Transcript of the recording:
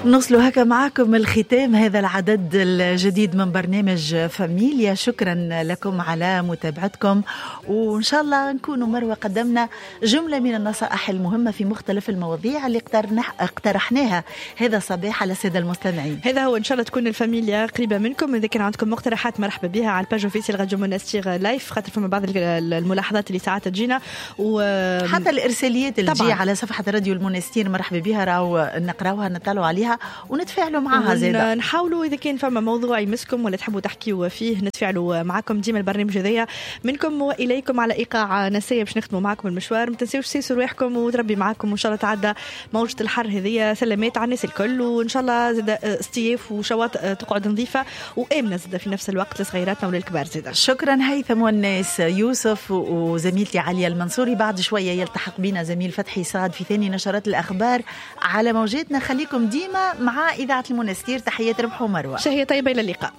نوصلوا هكا معكم الختام هذا العدد الجديد من برنامج فاميليا. شكرا لكم على متابعتكم، وإن شاء الله نكونوا مروة قدمنا جملة من النصائح المهمة في مختلف المواضيع اللي اقترحناها هذا الصباح على السادة المستمعين. هذا هو، إن شاء الله تكون الفاميليا قريبة منكم. إذا كان عندكم مقترحات مرحبا بها على ال page officielle راديو منستير live، خاطر فما بعض الملاحظات اللي ساعات تجينا حتى الإرساليات اللي تجي على صفحة راديو المنستير مرحبا بها، راهو نقراوها نطلعوا عليها ونتفاعلوا معها زاده. نحاولوا اذا كان فما موضوع يمسكم ولا تحبوا تحكيوا فيه نتفاعلوا معكم. ديما البرنامج هذايا منكم واليكم على ايقاع نسيه باش نختموا معكم المشوار. ما تنساوش سيسوا رواحكم وتربي معكم، وان شاء الله تعدى موجه الحر هذيا سلامات على الناس الكل، وان شاء الله زاد اصطياف وشواطئ تقعد نظيفة وامنه زاد في نفس الوقت لصغيراتنا وللكبار زاد. شكرا هيثم والناس يوسف وزميلتي عليا المنصوري. بعد شوية يلتحق بنا زميل فتحي صاد في ثاني نشرات الاخبار على موجاتنا. خليكم ديما مع إذاعة المنستير. تحيات ربح ومروة، شهية طيبة، إلى اللقاء.